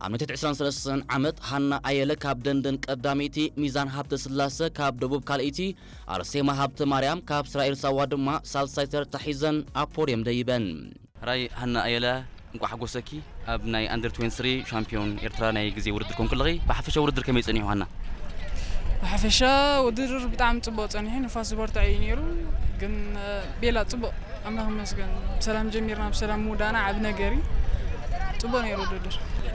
ኣብ ናይ ትሕቲ ዕስራን ሰለስተን ዓመት ሃና ኣየለ ካብ ደንደን ቀዳመይቲ፣ ሚዛን ሃብተ ስላሰ ካብ ደቡብ ካልኣይቲ፣ ኣርሴማ ሃብተ ማርያም ካብ እስራኤል ሳዋ ድማ ሳልሳይ ተርታ ሒዘን ኣብ ፖድየም ደይበን። ሕራይ ሃና ኣየለ፣ እንቋዕ ሓጎሰኪ። ኣብ ናይ ኣንደር ትዌንቲ ስሪ ሻምፒዮን ኤርትራ ናይ ግዜ ውድድር ኮንኩ ኣለኺ። ብሓፈሻ ውድድር ከመይ ጸኒሑ ሃና? ብሓፈሻ ውድድር ብጣዕሚ ጽቡቕ ጸኒሑ፣ ንፋስ ዝበርትዕ እዩ ነይሩ። ግን፣ እ፣ ቤላ ጽቡቕ፣ ኣምላኽ ይመስገን፣ ብሰላም ጀሚርና ብሰላም ምውዳእና ዓቢ ነገር እዩ። ጽቡቕ ነይሩ ውድድር።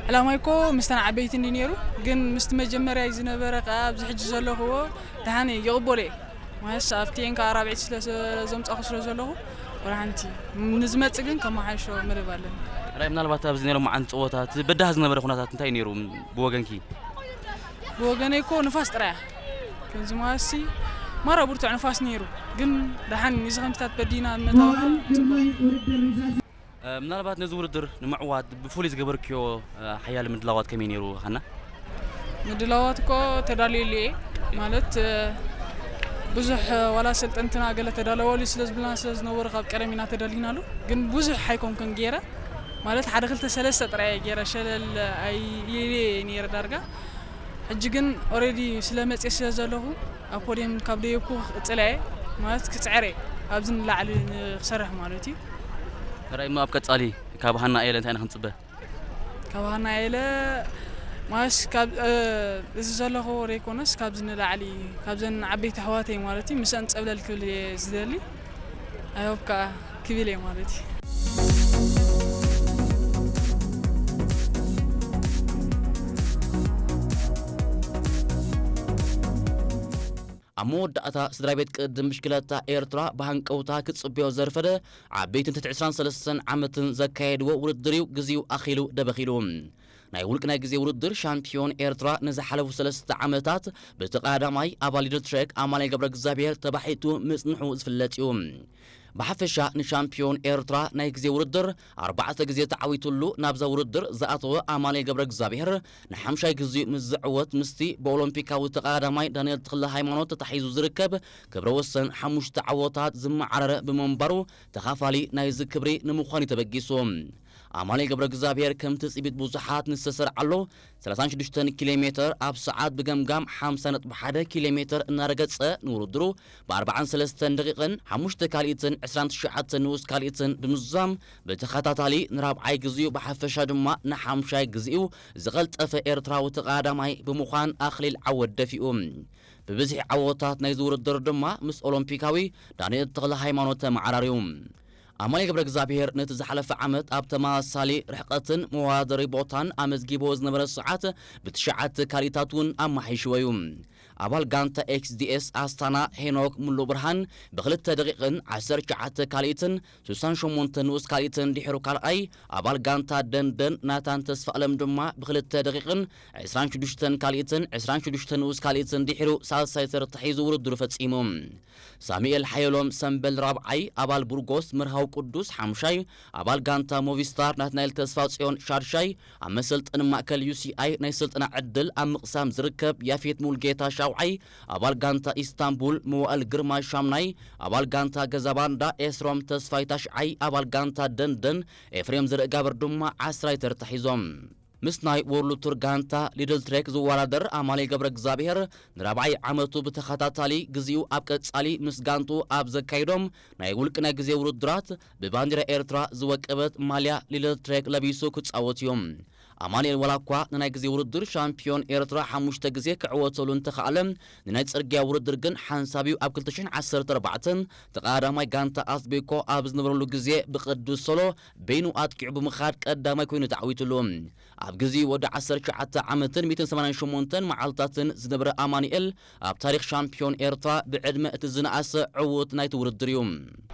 ዕላማይ እኮ ምስተን ዓበይቲ እንዲ ነይሩ፣ ግን ምስቲ መጀመርያ ዝነበረ ከኣ ኣብዚ ሕጂ ዘለኽዎ ደሓን እየ፣ ይቕበሎ እየ። ማለት ኣብቲ እየን ከኣ ራብዒት ስለ ዘምጻኹ ስለ ዘለኹ፣ ወላ ሓንቲ። ንዝመጽእ ግን ከመሓይሾ መደብ ኣለኒ። ሕራይ፣ ምናልባት ኣብዚ ናይ ሎማዓንቲ ጸወታ እቲ በዳህ ዝነበረ ኩነታት እንታይ ነይሩ ብወገንኪ? ብወገነይ እኮ ንፋስ ጥራይ እያ። ከምዚ ማሲ ማራ ብርቱዕ ንፋስ ነይሩ፣ ግን ደሓን እዚ ከምታት በዲና መታወና። እ፣ ምናልባት ነዚ ውድድር ንምዕዋት ብፍሉይ ዝገበርክዮ፣ እ፣ ሓያል ምድላዋት ከመይ ነይሩ ሃና? ምድላዋት እኮ ተዳልየሉ እየ። ማለት፣ እ፣ ብዙሕ፣ እ፣ ዋላ ሰልጠንትና ገለ ተዳለወሉ ስለ ዝብልና ስለ ዝነበሩ ካብ ቀደም ኢና ተዳሊናሉ። ግን ብዙሕ ኣይኮንኩን ገይረ። ማለት ሓደ ክልተ ሰለስተ ጥራይ እየ ገይረ፣ ሸለል ኣይ-፣ ኢለ እየ ነይረ ዳርጋ። ሕጂ ግን ኦሬዲ ስለ መጽየ ስለ ዘለኹ ኣብ ፖድየም ካብ ደየብኩ ክቕጽል እየ። ማለት ክጽዕር እየ። ኣብዚ ንላዕሊ ንክሰርሕ ማለት እዩ። ሕራይ እሞ ኣብ ቀጻሊ ካብ ሃና ኣየለ እንታይ ኢና ክንጽበ? ካብ ሃና ኣየለ ማለት ካብ፣ እ፣ እዚ ዘለኹዎ ዘይኮነስ ካብዚ ንላዕሊ ካብዘን ዓበይቲ ኣሕዋተይ ማለት እዩ ምስአን ጸብለል ክብል እየ ዝደሊ። ኣይ ሆፕ ከኣ ክብል እየ ማለት እዩ። ኣብ መወዳእታ ስድራ ቤት ቅድም ብሽክለታ ኤርትራ ብሃንቀውታ ክጽበዮ ዘርፈደ ዓበይትን ትሕቲ ዕስራን ሰለስተን ዓመትን ዘካየድዎ ውድድር እዩ ግዜኡ ኣኺሉ ደበኺሉ። ናይ ውልቂ ናይ ግዜ ውድድር ሻምፒዮን ኤርትራ ንዝሓለፉ ሰለስተ ዓመታት ብቲ ቀዳማይ ኣባል ሊድል ትሬክ ኣማኑኤል ገብረ እግዚኣብሔር ተባሒቱ ምጽንሑ ዝፍለጥ እዩ። ብሓፈሻ ንሻምፒዮን ኤርትራ ናይ ግዜ ውድድር ኣርባዕተ ግዜ ተዓዊቱሉ ናብዛ ውድድር ዝኣተወ ኣማኑኤል ገብረ እግዚኣብሔር ንሓምሻይ ግዜኡ ምስ ዝዕወት ምስቲ ብኦሎምፒካዊ ተቐዳዳማይ ዳንኤል ተኽለ ሃይማኖት ተታሒዙ ዝርከብ ክብረ ወሰን ሓሙሽተ ዓወታት ዝመዓረረ ብምንባሩ ተኻፋሊ ናይዚ ክብሪ ንምዃን እዩ ተበጊሱ። ኣማኑኤል ገብረ እግዚኣብሔር ከም ትጽቢት ብዙሓት ንዝተሰርዓሉ ሰላሳን ሽዱሽተን ኪሎ ሜተር ኣብ ሰዓት ብገምጋም ሓምሳ ነጥቢ ሓደ ኪሎ ሜተር እናረገጸ ንውድድሩ ብኣርባዓን ሰለስተን ደቂቕን ሓሙሽተ ካልኢትን ዕስራን ትሽዓተን ንኡስ ካልኢትን ብምዝዛም ብተኸታታሊ ንራብዓይ ግዜኡ ብሓፈሻ ድማ ንሓምሻይ ግዜኡ ዝቐልጠፈ ኤርትራዊ ተቐዳዳማይ ብምዃን ኣኽሊል ዓወት ደፊኡ። ብብዝሒ ዓወታት ናይዚ ውድድር ድማ ምስ ኦሎምፒካዊ ዳንኤል ተኽለ ሃይማኖት ተመዓራርዩ። ኣማኑኤል ገብረ እግዚኣብሔር ነቲ ዝሓለፈ ዓመት ኣብ ተመሳሳሊ ርሕቀትን መወዳደሪ ቦታን ኣመዝጊቦ ዝነበረ ሰዓት ብትሽዓተ ካልኢታት እውን ኣመሓይሽዎ እዩ። ኣባል ጋንታ ኤክስዲኤስ ኣስታና ሄኖክ ሙሉ ብርሃን ብክልተ ደቂቕን ዓሰርተ ትሽዓተ ካልኢትን ስሳን ሸሞንተ ንኡስ ካልኢትን ድሒሩ ካልኣይ፣ ኣባል ጋንታ ደንደን ናታን ተስፋ ኣለም ድማ ብክልተ ደቂቕን ዕስራን ሽዱሽተን ካልኢትን ዕስራን ሽዱሽተ ንኡስ ካልኢትን ድሒሩ ሳልሳይ ተርታ ሒዙ ውድድሩ ፈጺሙ። ሳሙኤል ሓየሎም ሰምበል ራብዓይ፣ ኣባል ቡርጎስ መርሃው ቅዱስ ሓምሻይ፣ ኣባል ጋንታ ሞቪስታር ናትናኤል ተስፋ ጽዮን ሻድሻይ፣ ኣብ መሰልጠኒ ማእከል ዩ ሲ ኣይ ናይ ስልጠና ዕድል ኣብ ምቕሳም ዝርከብ ያፌት ሙልጌታ ሻውዓይ፣ ኣባል ጋንታ ኢስታንቡል መዋእል ግርማ ሻምናይ፣ ኣባል ጋንታ ገዛ ባንዳ ኤስሮም ተስፋይ ታሽዓይ፣ ኣባል ጋንታ ደንደን ኤፍሬም ዘርእጋብር ድማ ዓስራይ ተርታ ሒዞም። ምስ ናይ ወርልድ ቱር ጋንታ ሊድል ትሬክ ዝወዳደር ኣማኑኤል ገብረ እግዚኣብሔር ንራብዓይ ዓመቱ ብተኸታታሊ ግዜኡ ኣብ ቀጻሊ ምስ ጋንቱ ኣብ ዘካይዶም ናይ ውልቂ ናይ ግዜ ውድድራት ብባንዲራ ኤርትራ ዝወቀበት ማልያ ሊድል ትሬክ ለቢሱ ክጻወት እዩ። ኣማኑኤል ዋላ እኳ ንናይ ግዜ ውድድር ሻምፒዮን ኤርትራ ሓሙሽተ ግዜ ክዕወተሉ እንተኸኣለ፣ ንናይ ጽርግያ ውድድር ግን ሓንሳብ እዩ ኣብ ክልተ ሽሕን ዓሰርተ ኣርባዕተን ተቐዳዳማይ ጋንታ ኣስቤኮ ኣብ ዝነበረሉ ግዜ ብቅዱስ ሶሎ በይኑ ኣጥቂዑ ብምኻድ ቀዳማይ ኮይኑ ተዓዊቱሉ። ኣብ ግዜ ወዲ ዓሰርተ ትሽዓተ ዓመትን ሚእትን ሰማንያን ሸሞንተን መዓልታትን ዝነበረ ኣማኑኤል ኣብ ታሪኽ ሻምፒዮን ኤርትራ ብዕድመ እቲ ዝነኣሰ ዕዉት ናይቲ ውድድር እዩ።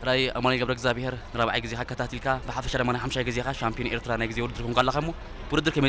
ሕራይ ኣማኑኤል ገብረ እግዚኣብሔር ንራብዓይ ግዜኻ ኣከታቲልካ፣ ብሓፈሻ ድማ ንሓምሻይ ግዜኻ ሻምፒዮን ኤርትራ ናይ ግዜ ውድድር ኮንካ ኣለኻ እሞ፣ ውድድር ከመይ